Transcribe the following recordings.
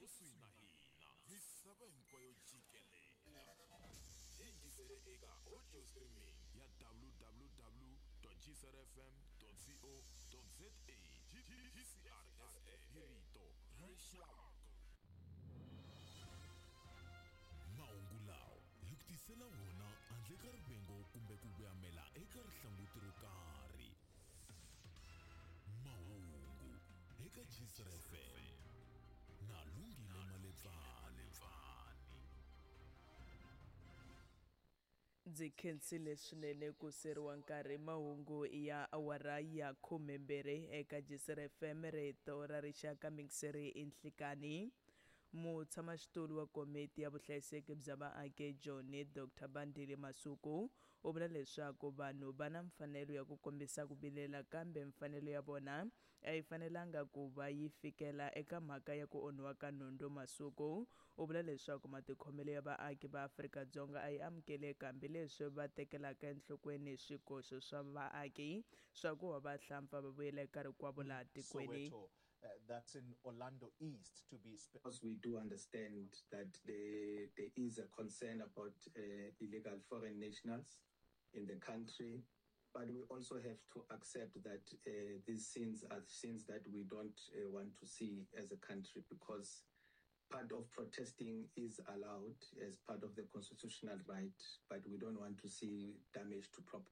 Kusuhi na hina misava hinkwayo jikelele yingisele eka audio streaming ya www gcrfm co za gcrfm hi rito ra rixaka. Mahungu lawa hi ku tisela wona handle ka rivengo kumbe ku voyamela eka rihlanguti ro karhi. Mahungu eka Gcr FM na Lungile Maletsani. Ndzi khensile swinene ku seriwa nkarhi mahungu ya awara ya 12 eka Gcr FM rito ra rixaka mingiseri i nhlikani. Mutshamaxitulu wa komiti ya vuhlayiseki bya vaaki eJoni Dr Bandile Masuku u vula leswaku vanhu va na mfanelo ya ku kombisa ku vilela kambe mfanelo ya vona a yi fanelanga ku va yi fikela eka mhaka ya ku onhiwa ka nhundzu. Masuku u vula leswaku matikhomelo ya vaaki va Afrika-Dzonga a yi amukeleki hambileswi va tekelaka enhlokweni swikoxo swa vaaki swa ku va vahlampfa va vuyela eka rikwavo laha tikweni. Soweto, that's in Orlando East to be Because we do understand that there, there is a concern about illegal foreign nationals in the country, but we also have to accept that these scenes are scenes that we don't want to see as a country, because part of protesting is allowed as part of the constitutional right, but we don't want to see damage to property.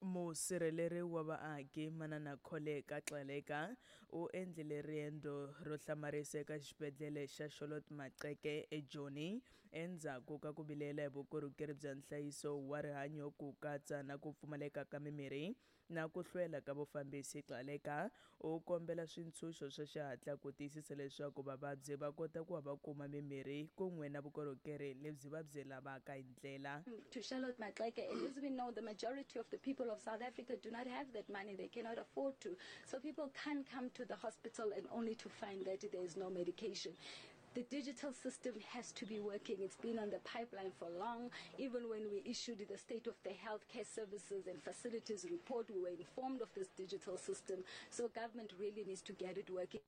Musirheleri wa vaaki Manana Kholeka Gcaleka u endlile riendzo ro hlamarisa eka xibedhlele xa Charlotte Maxeke eJoni endzhaku ka ku vilela hi vukorhokeri bya nhlayiso wa rihanyo ku katsa na ku pfumaleka ka mimirhi na ku hlwela ka vufambisi. Gcaleka u kombela swintshunxo swa xihatla ku tiyisisa leswaku vavabyi va kota ku va va kuma mimirhi kun'we na vukorhokeri lebyi va byi lavaka hi ndlela. To Charlotte Maxeke, and as we know, the majority of the people of South Africa do not have that money. They cannot afford to. So people can't come to the hospital and only to find that there is no medication. The digital system has to be working. It's been on the pipeline for long. Even when we issued the State of the Healthcare Services and Facilities report, we were informed of this digital system. So government really needs to get it working.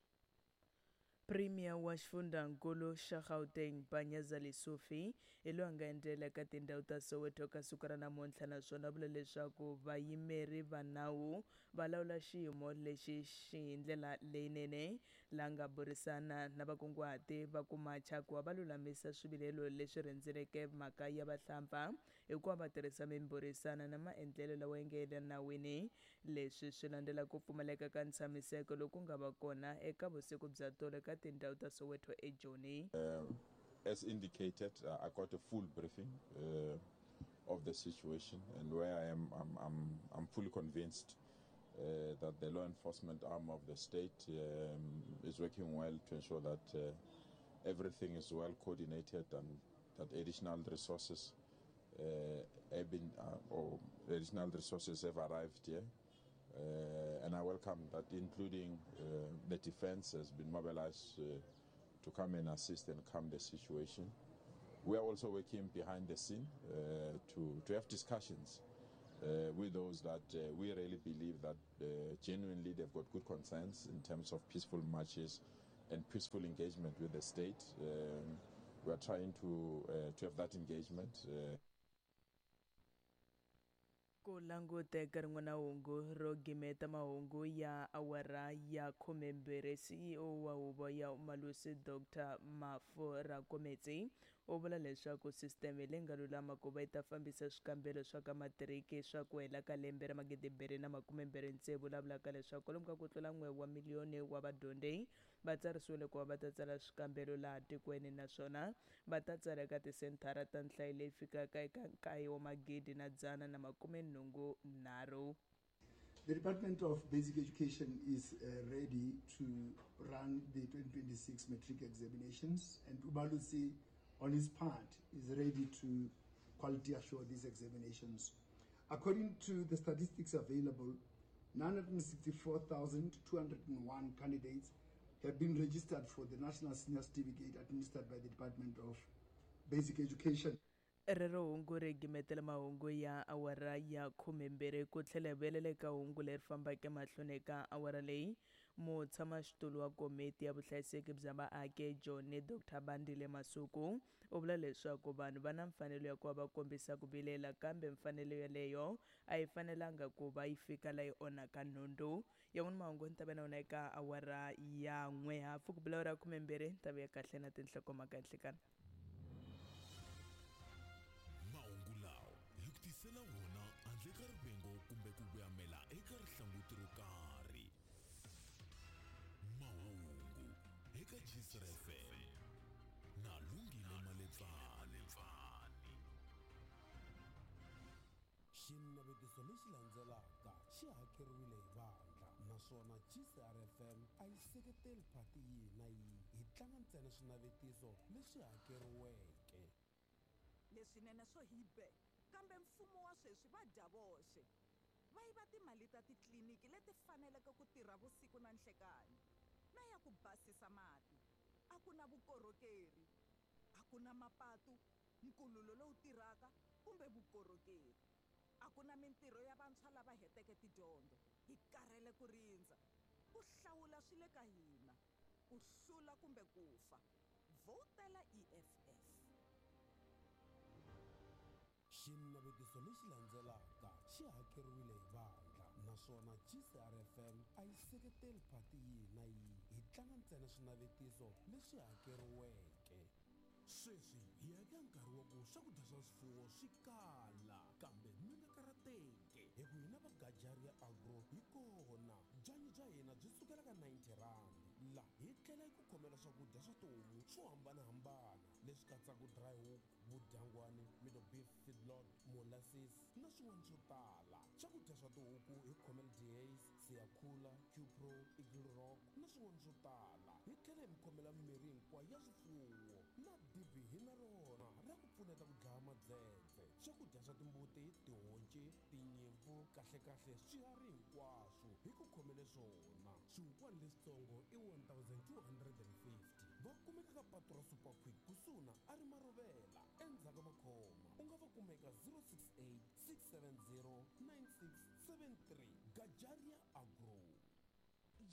Premier wa xifundzankulu xa Gauteng Panyaza Lesufi hi loyi a nga endzela eka tindhawu ta Soweto ka siku ra namuntlha naswona vula leswaku vayimeri va nawu va lawula xiyimo lexi xi hi ndlela leyinene la nga burisana na vakunguhati va ku macha ku va va lulamisa swivilelo leswi rhendzeleke mhaka ya vahlampfa hi ku va va tirhisa mimbhurisano na maendlelo lawa ya nga le nawini. Leswi swi landzela ku pfumaleka ka ntshamiseko loku nga va kona eka vusiku bya tolo eka tindhawu ta Soweto eJoni. As indicated, I got a full briefing of the situation, and where I am, I'm fully convinced that the law enforcement arm of the state is working well to ensure that everything is well coordinated and that additional resources have been, or additional resources have arrived here. And I welcome that, including the defense has been mobilized to come and assist and calm the situation. We are also working behind the scene to have discussions with those that we really believe that genuinely they've got good concerns in terms of peaceful marches and peaceful engagement with the state. We are trying to have that engagement. Ku languteka rin'wana hungu ro gimeta mahungu ya awara ya 12, CEO wa huvo ya Umalusi Dr Mafu Rakometsi u vula leswaku sisiteme leyi nga lulama ku va yi ta fambisa swikambelo swa ka matiriki swa ku hela ka lembe ra 2026, vulavulaka leswaku kwalomu ka ku tlula 1 wa miliyoni wa vadyondzi va tsarisiwile ku va va ta tsala swikambelo laha tikweni, naswona va ta tsala eka tisenthara ta nhlayo leyi fikaka eka 9 wa magidi na dzana na makume nhungu nharhu. The Department of Basic Education is ready to run the 2026 matric examinations, and Umalusi, on his part, is ready to quality assure these examinations. According to the statistics available, 964,201 candidates have been registered for the National Senior Certificate administered by the Department of Basic Education. Rero hungu ri gimetela mahungu ya awara ya 12 ku tlhela hi vuyelela eka hungu leri fambaka emahlweni eka awara leyi. Mutshamaxitulu wa komiti ya vuhlayiseki bya vaaki eJoni, Dr Bandile Masuku, u vula leswaku vanhu va na mfanelo ya ku va va kombisa ku vilela, kambe mfanelo yeleyo a yi fanelanga ku va yi fika la yi onhaka nhundzu. Yan'wana mahungu ni ta va na wona eka awara ya 1 hafu ku bula awara ya 12 ni ta vuya kahle na tinhlokomhaka nhlikani. Mahungu lawa hi ku tisela wona handle ka rivengo kumbe ku vuyamela eka rihlanguti ro karhi. Mahungu eka Gcr FM na Lungile Maletsani. Xinavetiso lexi landzelaka xi hakeriwile hi vandla, naswona GCR FM a yi seketeli phati yihi na yihi. Hi tlanga ntsena swinavetiso leswi hakeriweke. Leswinene swo hi be, kambe mfumo wa sweswi va dya voxe. Va yiva timali ta titliliniki leti faneleke ku tirha vusiku na nhlekani, na ya ku basisa mati. A ku na vukorhokeri, a ku na mapatu, nkululo lowu tirhaka kumbe vukorhokeri. A ku na mintirho ya vantshwa lava heteke tidyondzo. Hi karhele ku rindza. Ku hlawula swi le ka hina, ku hlula kumbe ku fa. Vhotela EFF. Xinavetiso lexi landzelaka xi hakeriwile hi vandla, naswona GCR FM a yi seketeli phati yihi na yihi. Hi tlanga ntsena swinavetiso leswi hakeriweke. Sweswi hi ya eka nkarhi wa ku swakudya swa swifuwo swi kala, kambe mi nga karhateki hi ku hina va Gajaria Agro hi kona. Byanyi bya hina byi sukela ka 90 rand. La hi tlhela hi ku khomela swakudya swa tihomu swo hambanahambana leswi katsaka dry hook, vudyangwani, middle beef feedlot, molasses na swin'wana swo tala. Swakudya swa tihuku hi khomela Dehaze, Siyakhula, Qpro, Eagle Rock na swin'wana swo tala. Hi tlhela hi mi khomela mirhi hinkwayo ya swifuwo na dibi hi na rona ra ku pfuneta ku dlaya madzedze. Swakudya swa timbuti, tihonci, tinyimpfu, kahlekahle swiharhi hinkwaswo hi ku khomele swona. Swihukwani leswitsongo i 1250. Va kumeka ka patu ra Super Quick kusuhi na a ri Maruvela endzhaku ka Makhoma. U nga va kumeka 068 670 9673. Gajaria Agro.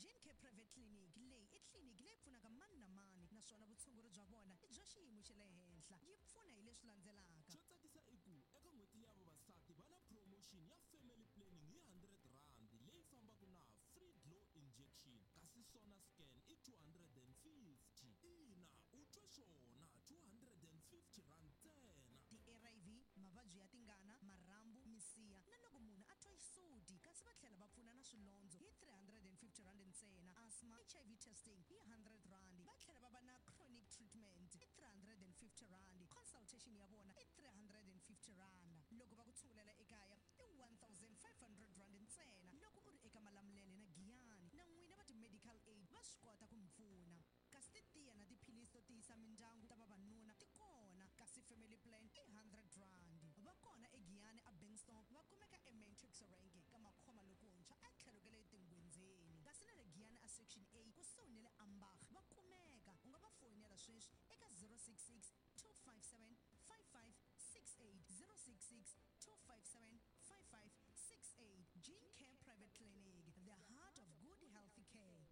Gene Care Private Clinic leyi i tliliniki leyi pfunaka mani na mani, naswona vutshunguri bya vona i bya xiyimo xa le henhla. Yi pfuna hi leswi landzelaka. Xo tsakisa i ku eka n'hweti ya vavasati va na promotion ya family planning hi 100 rand leyi fambaka na free glow injection, kasi sona scan i 250. Ina, u twe swona, 250 rand ntsena. Ti-ARV, mavabyi ya tingana, marhambu, misiha na loko munhu a twa xisuti, kasi va tlhela va pfuna na swilondzo hi 350 rand ntsena. Asthma, HIV testing hi 100 rand. Va tlhela va va na chronic treatment i 350 rand. Consultation ya vona i 350 rand. Loko va ku tshungulela ekaya i 1500 rand ntsena. Loko u ri eka Malamulele na Giyani na n'wina va ti-medical aid va swi kota ku mi pfuna. Kasi titiya na tiphilisi to tiyisa mindyangu ta vavanuna ti kona, kasi family plan i 100 rand. Va kona eGiyani a Bankston, va kumeka eMatrix Rank ka Makhoma lokuntshwa a tlhelo ka le Tingwenzeni, kasi na le Giyani a Section A kusuhi na le Ambach va kumeka. U nga va foyinela sweswi eka 066 257 5568, 066 257 5568. Gene Care Private Clinic, the heart of good healthy care.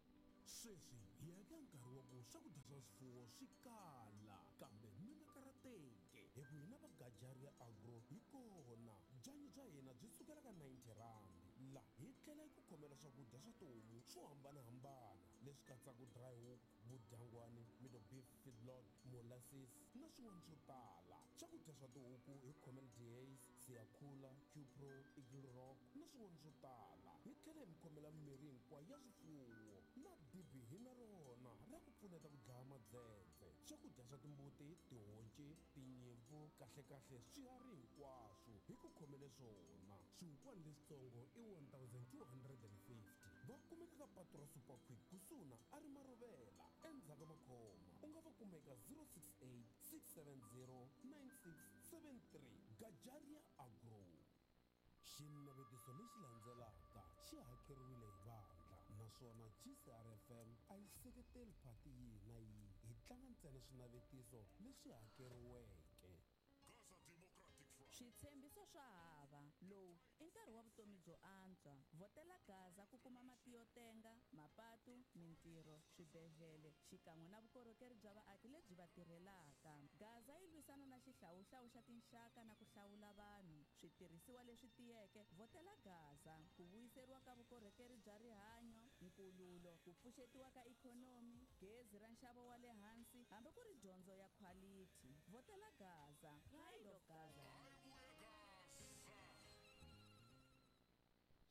Sweswi hi ya eka nkarhi wa ku swakudya swa swifuwo swi kala, kambe mi nga karhateki hi ku hina va Gajaria Agro hi kona. Byanyi bya hina byi sukela ka 90 rand. La hi tlhela hi ku khomela swakudya swa tihomu swo hambanahambana leswi katsaka dry hook, vudyangwani, middle beef feedlot, molasses na swin'wana swo tala. Swakudya swa tihuku hi khomela Dehaze, Siyakhula, Qpro, Eagle Rock na swin'wana swo tala. Hi tlhela hi mi khomela mirhi hinkwayo ya swifuwo na dibi hi na rona ra ku pfuneta ku dlaya madzedze. Swakudya swa timbuti, tihonci, tinyimpfu, kahlekahle swiharhi hinkwaswo hi ku khomele swona. Swihukwani leswitsongo i 1250. Va kumeka ka patu ra Super Quick kusuhi na a ri Maruvela endzhaku ka Makhoma. U nga va kumeka 068 670 9673. Gajaria Agro. Xinavetiso lexi landzelaka xi hakeriwile hi vandla, naswona GCR FM a yi seketeli phati yihi na yihi. Hi tlanga ntsena swinavetiso leswi hakeriweke. Switshembiso swa hava. Lowu i nkarhi wa vutomi byo antswa. Vhotela Gaza ku kuma mati yo tenga, mapatu, Swibedhlele xikan'we na vukorhokeri bya vaaki lebyi va tirhelaka. Gaza yi lwisana na xihlawuhlawu xa tinxaka na ku hlawula vanhu. Switirhisiwa leswi tiyeke, vhotela Gaza. Ku vuyiseriwa ka vukorhokeri bya rihanyo, nkululo, ku pfuxetiwa ka ikhonomi, gezi ra nxavo wa le hansi hambi ku ri dyondzo ya khwalithi. Vhotela Gaza. Pride of Gaza.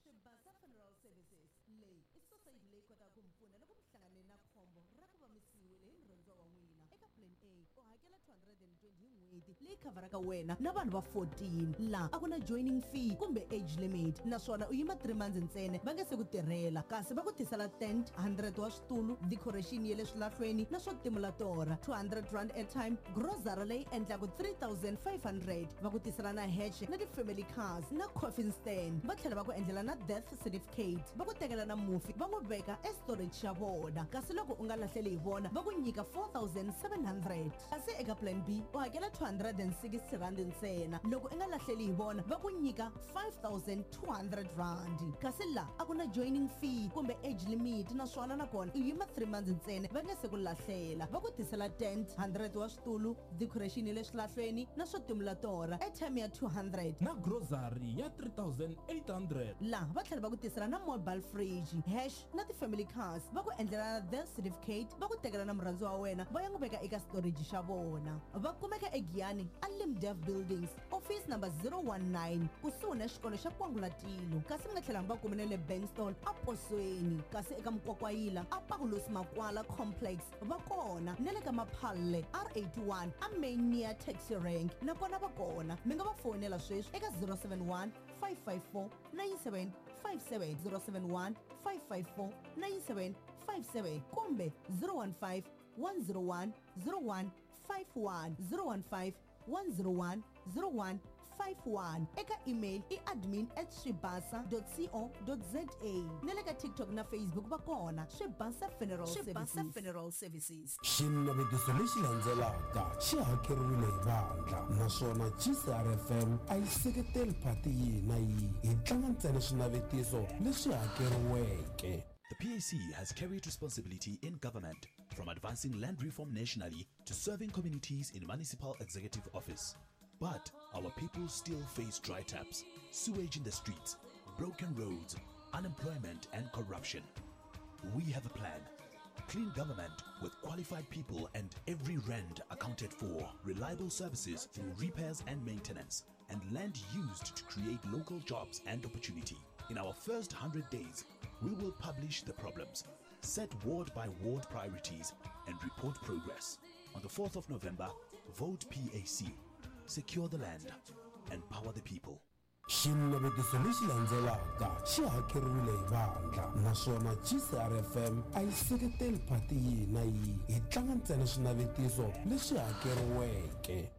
Swibasa Funeral Services leyi i sosayiti leyi kotaka ku mi pfuna loko mi hlangane na khombo ra ku va mi siyiwile hi murhandziwa wa n'wina. Eka Plan A u hakela 220 hi n'hweti leyi khavharaka wena na vanhu va 14. Laha a ku na joining fee kumbe age limit naswona u yima 3 months ntsena va nge se ku tirhela kasi va ku tisela tent, 100 wa switulu, decoration ya le swilahlweni na swo timula torha, R200 airtime, grocery leyi endlaka 3500 va ku tisela na hexe na ti-family cars na coffin stand va tlhela va ku endlela na death certificate va ku tekela na mufi va n'wi veka estorage xa vona kasi loko u nga lahleli hi vona va ku nyika 4700 kasi eka plan B u hakela R260 ntsena loko u nga lahleli hi vona va ku nyika R5200 kasi la a ku na joining fee kumbe age limit naswona nakona u yima 3 months ntsena va nge se ku lahlela va ku tisela tent 100 wa switulu decoration ya le swilahlweni na swo timula torha airtime ya 200 na grocery ya 3800 laha va tlhela va ku tisela na mobile fridge hash na ti-family cars va ku endlela na death certificate va ku tekela na murhandziwa wa wena va ya n'wi veka eka storage xa vona va kumeka egiyani a limdev buildings office number 019 kusuhi na xikolo xa kwangulatilo kasi mi nga tlhela mi va kume na le benstall a posweni kasi eka mukwakwayila a pakulosi makwala complex va kona na le ka maphalle r81 a main near taxi rank nakona va kona mi nga va fonela sweswi eka 071 554 9757 071 554 9757 kumbe 015 101 0151 015 101 0151 eka email i admin at swibasa co za na le ka tiktok na facebook va kona swibasa funeral Swibasa Services. Funeral Services. Xinavetiso lexi landzelaka xi hakeriwile hi vandla naswona GCRFM a yi seketeli phati yihi na yihi hi tlanga ntsena swinavetiso leswi hakeriweke. The PAC has carried responsibility in government, from advancing land reform nationally to serving communities in municipal executive office. But our people still face dry taps, sewage in the streets, broken roads, unemployment, and corruption. We have a plan. Clean government with qualified people and every rand accounted for, reliable services through repairs and maintenance, and land used to create local jobs and opportunity. In our first 100 days, we will publish the problems, set ward by ward priorities, and report progress. On the 4th of November, vote PAC. Secure the land, empower the people. Xinavetiso lexi landzelaka xi hakeriwile hi vandla naswona GCRFM a yi seketeli phati yihi na yihi hi tlanga ntsena swinavetiso leswi hakeriweke.